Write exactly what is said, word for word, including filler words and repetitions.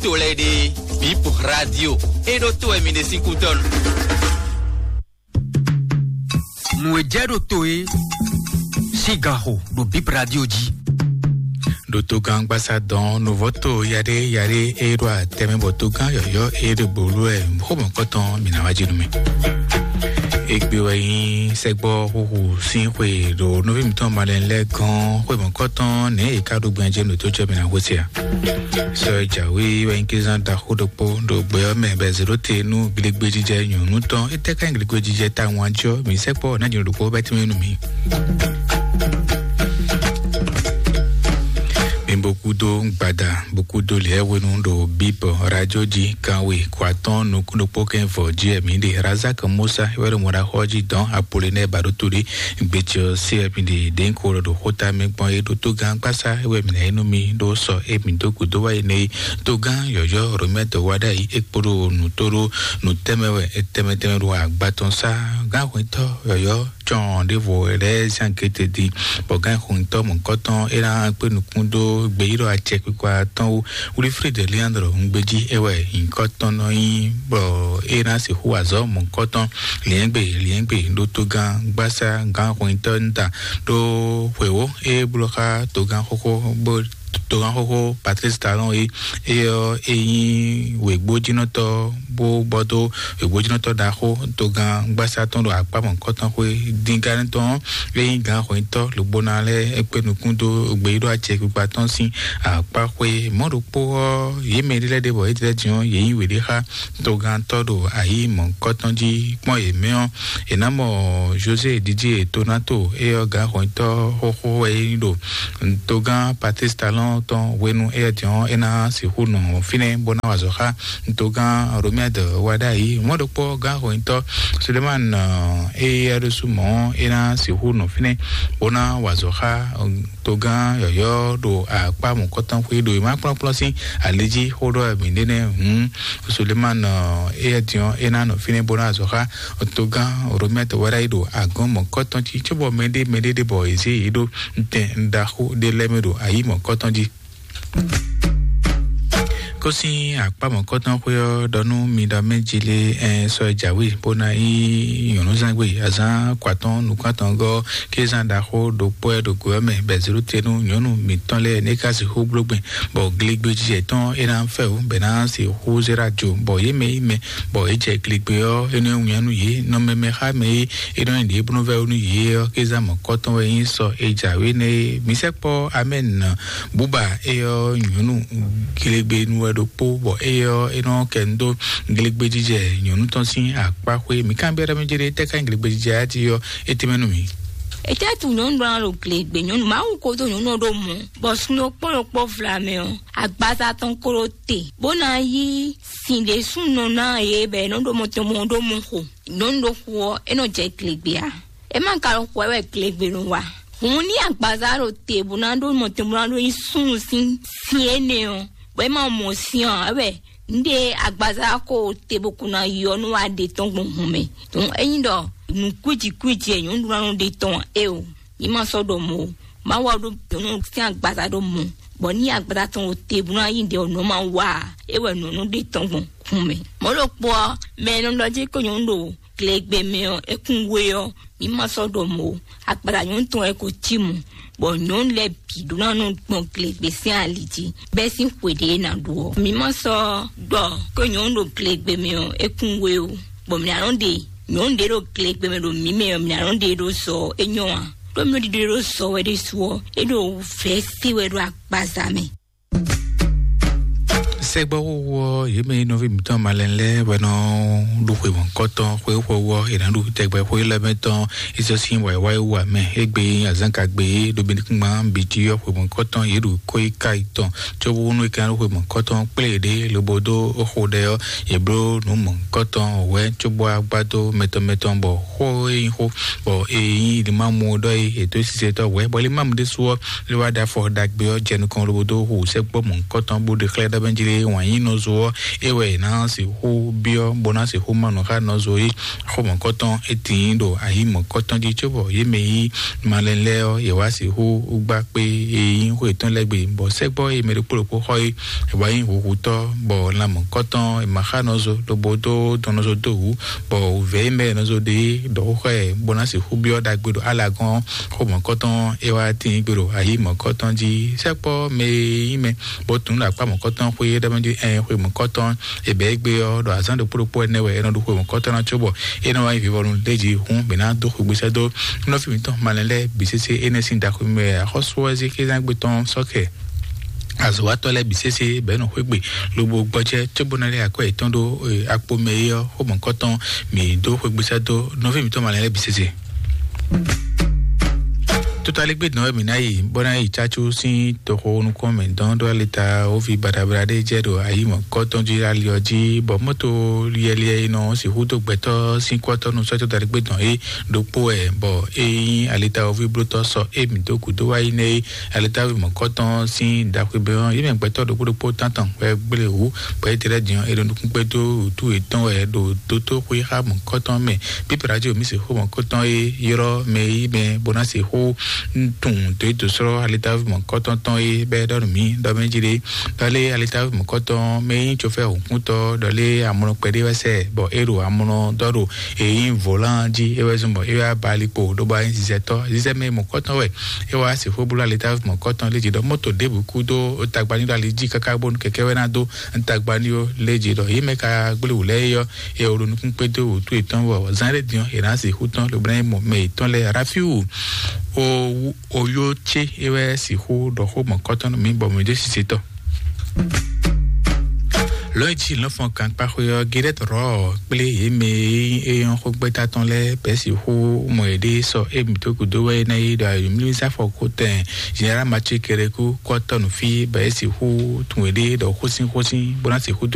to lɛ́ɛ ɖe, Bip Radio, é ɖó to wɛ mi ɖe sín kútɔ́ nu. Nǔ e jɛ ɖo to é sín ganxo ɖo Bip Radio jí. Ɖo togán gbasa dɔn nuvɔ́ to yaɖé yaɖé e ɖo atɛmɛ bɔ togán yɔ̌yɔ́ e ɖo gbolo wɛ xó mɔ̌kɔtɔn mǐ ná wá jí nú mì. Égbé wɛ nyí sɛgbɔ xúxú sín xwe ɖo nɔví mǐtɔn malɛn lɛ́ɛ gɔ́n xwe mɔ̌kɔtɔn nɛ̌ è ká ɖo gbɛn jɛ ɖo tó jɔ mǐ ná xwé se a? Sɔ e jǎwe wɛ nyí kézán ɖaxó ɖokpó ɖo gbɛ ɔ́ mɛ bɔ è zě ɖó te nú glegbéjijɛ nyɔ̌nu tɔn. Étɛ́ ká nyí glegbéjijɛ tawun ɔ́ jí ɔ́, mǐ sɛkpɔ́ ná jǐnɔ ɖokpó bɛ́ tínmɛ nú mǐ. Mi bo kúdó gbada, bo kúdó lɛ̌ hwenu ɖo Bíbɔ radio jí kanwe kó atɔ́ɔ́n nukún ɖokpó kɛ́n vɔ jí wɛ mǐ ɖe. Razak Musa wɛ ɖo mɔɖaxɔ jí dɔn Apolinɛ ba ɖó to ɖé. Gbecɛ ɔ́ se wɛ mi ɖe ɖěnko lɔ ɖo xóta mɛ gbɔn é ɖó togán gbásá wɛ mi ná yi nú mi ɖó sɔ é mi dó gǔdo wá yi nɛ é. Togán yɔ̌yɔ́ Romɛ́ dɔ wá ɖ'ayǐ é kpo ɖo nǔ tó ɖó nǔ tɛnmɛ wɛ é tɛnmɛ tɛnmɛ ɖo agba tɔn sá. Gán hwɛntɔ́ yɔ̌yɔ́ cɔn ɖěvo lɛ́ɛ zán kéte din, bɔ gán xwɛntɔ́ mɔ̌kɔtɔn é ná kpé nukún dó gbeyíɖɔ acɛkpikpa tɔn wú. Wilfrid Leandro ŋgbéjí é wɛ nyǐkɔ tɔn nɔ nyí, bɔ é ná sixú azɔ̌ mɔ̌kɔtɔn liɛ́ngbè liɛ́ngbè ɖó togán gbásá gán xwɛntɔ́ nda ɖó xwěwó é bló xá togán xóxó bó togán xóxó Patrice Talon é. É ɔ́ é nyí wěgbójínɔtɔ́ bó bɔ dó wěgbójínɔtɔ́ ɖaxó togán gbásá tɔn ɖo akpá mɔ̌kɔtɔn xwé díngán tɔn é nyí gǎn xwɛntɔ́ lǒgbóná lɛ́ɛ é kpé nukún dó gbeyíɖɔ acɛkpikpa tɔn sín akpá xwé. Mɔ̌ ɖokpó ɔ́, yě mɛ ɖé lɛ́ɛ ɖe bɔ é tlɛ din ɔ́, yě nyí wěɖé xá togantɔ́ ɖo ayǐ mɔ̌kɔtɔn jí kpɔ́n yě mɛ ɔ́, è nǎ mɔ José Didier Tonato é ɔ́ gǎn xwɛntɔ́ xóxó wɛ é nyí ɖo togán Patrice Talon tɔn hwenu éyɛ́ din ɔ́, é ná sixú nɔ fínɛ́ bó ná wa azɔ̌ xá togán Romuald Wadagni. Mɔ̌ ɖokpó gán xwɛntɔ́ Sulemani éyɛ́ ɖésú mɔ̌ é ná sixú nɔ fínɛ́ bó ná wa azɔ̌ xá togán yɔ̌yɔ́ ɖo akpá mɔ̌kɔtɔn xwé ɖo e má kplɔ́nkplɔ́n sín ali jí xó ɖɔ mǐ ɖe nɛ́ hǔn Sulemani éyɛ́ din ɔ́, é ná nɔ fínɛ́ bó ná wa azɔ̌ xá togán Romuald Wadagni ɖo agɔ̌n mɔ̌kɔtɔn jí cóbɔ mɛɖé mɛɖé ɖé bɔ è zě yě ɖó tɛn ɖaxó ɖé lɛ́ɛ mɛ ɖo ayǐ mɔ̌kɔtɔn jí. Kó sín akpá mɔ̌kɔtɔn xwé ɔ́ ɖɔ nú mi ɖɔ mɛ jí lé ɛ sɔ jǎwe bó ná yí nyɔ̌núzangbe azán kwatɔn nukún atɔngɔ́ kézán ɖaxó ɖokpó ɛ ɖo go ɔ́ mɛ bɛzelu tenu nyɔ̌nu mǐtɔn lɛ́ɛ ní ka sixú bló gbɛn bɔ gligbe jijɛ tɔn é ná fɛ wú bɛ ná sixú zé ɖo ajo bɔ yě mɛ yí mɛ bɔ é jɛ gligbe ɔ́ é nɔ wínnyá nú yě nɔ mɛmɛ xá mɛ é é nɔ nyi ɖě bó nɔ vɛ́ wú nú yě ɔ́ kézán mɔ̌kɔtɔn wɛ nyí sɔ é jǎwe nɛ́ é. Mi sɛkpɔ́ amɛ́n. Buba é ɔ́ nyɔ̌nu glegbenu wɛ ɖokpó bɔ é ɔ́ é nɔ kɛ nu dó glegbejijɛ nyɔ̌nu tɔn sín akpá xwé. Mǐ kan byɔ́ ɖɔ mɛ jɛ ɖe tɛ́ ká nyí glegbejijɛ ati ɔ́ é tɛ́ mɛ nú mǐ. Etɛ́ tu nyɔ̌nu ɖɔ ná ɖo glegbe nyɔ̌nu Mawu ko dó nyɔ̌nu ɔ́ ɖó mɔ̌, bɔ sun ɖokpó ɖokpó vlamɛ ɔ́, agbaza tɔn ko ɖo te, bó ná yí sin ɖě súnnu ná yě bɔ è nɔ ɖo mɔ tɔn mɔ ɖó mɔ xo. Nyɔ̌nu ɖokpó ɔ́, é nɔ jɛ glegbe ǎ. É ma ka ɖo xwɛ wɛ glegbe nɔ wa. Hǔn ní agbaza ɖo te bó ná ɖó mɔ tɔn bó ná ɖó nyí súnnu sín sin énɛ́ ɔ́, bɔ é ma mɔ sin ɔ́, é wɛ un ɖe agbaza ko te bó kún ná yɔ nú wa ɖe tɔn gbɔn hǔn mɛ. Dɔn ényí ɖɔ nǔ kwíji kwíji e nyɔ̌nu ná nɔ ɖe tɔn é o, ní ma sɔ́ ɖɔ mɔ̌ o. Má wa ɖó nyɔ̌nu sín agbaza ɖó mɔ̌, bɔ ní agbaza tɔn ɖo te bó ná yí ɖe ɔ́, nǔ ma wa ǎ, é wɛ nǔ nɔ ɖe tɔn gbɔn hǔn mɛ. Mɔ̌ ɖokpó ɔ́, mɛ e nɔ ɖɔ jí ko nyɔ̌nu ɖo glegbe mɛ ɔ́, é kún we ɔ́, mǐ ma sɔ́ ɖɔ mɔ̌ o. Akpata nyɔ̌nu tɔn wɛ ko cí mɔ̌, bɔ nyɔ̌nu lɛ́ɛ bǐ ɖó ná nɔ gbɔn glegbe sín ali jí, bɛ́ sín xwe ɖě ná ɖu ɔ́. Mǐ ma sɔ́ ɖɔ ko nyɔ̌nu ɖo glegbe mɛ ɔ́, é kún we o, bɔ mǐ ná nɔ ɖe nyɔ̌nu ɖě ɖo glegbe mɛ ɖo mǐ mɛ ɔ́, mǐ ná nɔ ɖe ɖó sɔ ɔ́, é nyɔ́ ǎ. Ɖó mǐ ɖiɖe ɖó sɔ wɛ ɖésú ɔ́, é ɖo vɛ̌ se wɛ ɖo agbaza mɛ. Sɛgbɔwowo ɔ́, yě mɛ e nɔví mǐtɔn malɛn lɛ́ɛ wɛ nɔ ɖo xwe mɔ̌kɔtɔn xwe xwe wɔ è nǎ ɖo tɛgbɛ xwe lɛ́ɛ mɛ tɔn. Isɔ sín wǎyíwáyí wa mɛ égbé azánka gbé ɖo bǐ nukúngbán bǐ jí ɔ́ xwe mɔ̌kɔtɔn yě ɖo kó yi ká yi tɔn. Cóbónú é ka ɖo xwe mɔ̌kɔtɔn kplé ɖé lobo dó xo ɖɛ ɔ́, yě bló nǔ mɔ̌kɔtɔn wɛ cóbó agbádó mɛtɔn mɛtɔn bɔ xó e nyí xó bɔ e nyí limamu ɖɔ é ètò sisɛtɔ wɛ bɔ limamu ɖésú ɔ́ lé wá ɖo afɔ ɖagbe ɔ́ jɛ nukɔn lobo dó xo sɛkpɔ́ mɔ̌kɔtɔn bó ɖe xlɛ́ ɖɔ bɛ́ jí lé wǎn yí nɔzo ɔ́, é wɛ è nǎ sixú byɔ́ bó ná sixú má nǔ xá nɔzo é. Xó mɔ̌kɔtɔn é tíin ɖo ayǐ mɔ̌kɔtɔn jí, cóbɔ yě mɛ yí malɛn lɛ́ɛ ɔ́, yě wá sixú gbá kpé e nyí xó yětɔn lɛ́ɛ gbe, bɔ sɛ́gbɔ́ e mɛ ɖokpó ɖokpó xɔ é, è wá nyí huhutɔ́, bɔ lan mɔ̌kɔtɔn è ma xá nɔzo lobo dó dɔn nɔzo dó wǔ, bɔ wǔvɛ́ e mɛ nɔzo ɖe é ɖɔ xó xá ɛ bó ná sixú byɔ́ ɖagbe ɖo alagɔ́n. Xó mɔ̌kɔtɔn é wá tíin gbe ɖo ayǐ mɔ̌kɔtɔn jí. Sɛ́kpɔ́ mɛ e nyí mɛ bó tunú ɖo akpá mɔ̌kɔtɔn xwé é ɖɔ mɛ jí ɛn xwe mɔ̌kɔtɔn è bɛ̌ égbé ɔ́, ɖɔ azǎn ɖokpó ɖokpó ɛnɛ wɛ é nɔ ɖo xwe mɔ̌kɔtɔn ná cóbɔ é nɔ wá nyí vivɔnu lé jí hǔn mǐ ná dó xwegbe sɛ́ dó nɔví mǐtɔn malɛn lɛ́ɛ bǐ sésé énɛ́ sín ɖaxó mɛ axɔ́sú ɔ́ zé xézán gbe tɔn sɔ́kɛ azɔ̌watɔ́ lɛ́ɛ bǐ sésé bɛ̌ nɔ xwégbe lobo gbɔjɛ́ cóbó ná lɛ́ akwɛ́ yětɔn ɖó akpo mɛ é ɔ́, xó mɔ̌kɔtɔn mǐ dó xwegbe sɛ́ dó nɔví mǐtɔn malɛn lɛ́ɛ bǐ sésé. Totaligbé dɔn wɛ mǐ ná yi bó ná yi cácú sín toxo nukɔn mɛ dɔn ɖó alita wovi baɖabaɖa ɖé jɛ ɖo ayi mɔ̌kɔtɔn jí ali ɔ́ jí, bɔ mɔto liɛliɛ e nɔ sixú dó gbɛtɔ́ sín kɔtɔnu sɔ́ totaligbé dɔn é ɖokpó wɛ, bɔ é nyí alita wovi blótɔ́ sɔ é mǐ dó gǔdo wá yi nɛ é. Alita wovi mɔ̌kɔtɔn sín ɖaxwebɛ́ ɔ́, yě mɛ gbɛtɔ́ ɖokpó ɖokpó tántɔn wɛ gblé wǔ, bɔ é tlɛ din ɔ́, é ɖo nukúngbɛ́ dó wǔtú yětɔn wɛ ɖo dótóxwé xá mɔ̌kɔtɔn mɛ. Pípɛ́ radio mǐ sixú mɔ̌kɔtɔn e ylɔ́ mɛ e yí mɛ bó ná sixú tunwun dǒ e dǒ sɔ́ alitaví mɔ̌kɔtɔn tɔn e bɛ́ ɖɔ nú mǐ ɖɔ mɛ jí ɖé. Ɖɔ lé alitaví mɔ̌kɔtɔn mɛ e nyí tsofɛ́ hǔnkúntɔ́, ɖɔ lé amlɔ kpɛɖé wɛ sɛ, bɔ é ɖo amlɔ dɔ́ ɖo e nyí vǒlán jí, é wɛ zɔn bɔ é wá ba ali kpo ɖó bɔ é nyí zizɛtɔ́. Zizɛ mɛ mɔ̌kɔtɔn wɛ é wá sixú bló alitaví mɔ̌kɔtɔn lé jí ɖɔ mɔ́to ɖěbǔ kú dó tagba ní ɖo ali jí káká bónú kɛkɛ́ wɛ ná dó tagba ní ó lé jí ɖɔ yě mɛ ka gblé wǔ lɛ́ɛ é ɔ́, eye wòɖo nukún kpé dó wǔtu yětɔn wɔ zán ɖé din ɔ́, è nǎ sixú tɔn lobo ná yi mɔ mɛ yětɔn lɛ́ɛ. Rafiu o oyó ce é wɛ sixú ɖɔ xó mɔ̌kɔtɔn nú mǐ bɔ mǐ ɖó sise tɔn. Lɔ̌nyijǐ lɔ́fɔn kankpaxwe ɔ́, Gilɛ́t Rɔ́ɔ kplé yě mɛ e nyí xógbɛ́tá tɔn lɛ́ɛ bɛ́ sixú mɔ yěɖée sɔ émi dó gǔdo wɛ é ná yi ɖo ayǒmlímísá fɔkútɛn Zenerál Mathieu Kérékou kɔ́tɔ́ nǔ fí, bɔ é sixú tun yěɖée ɖɔ xósínxósín bó ná sixú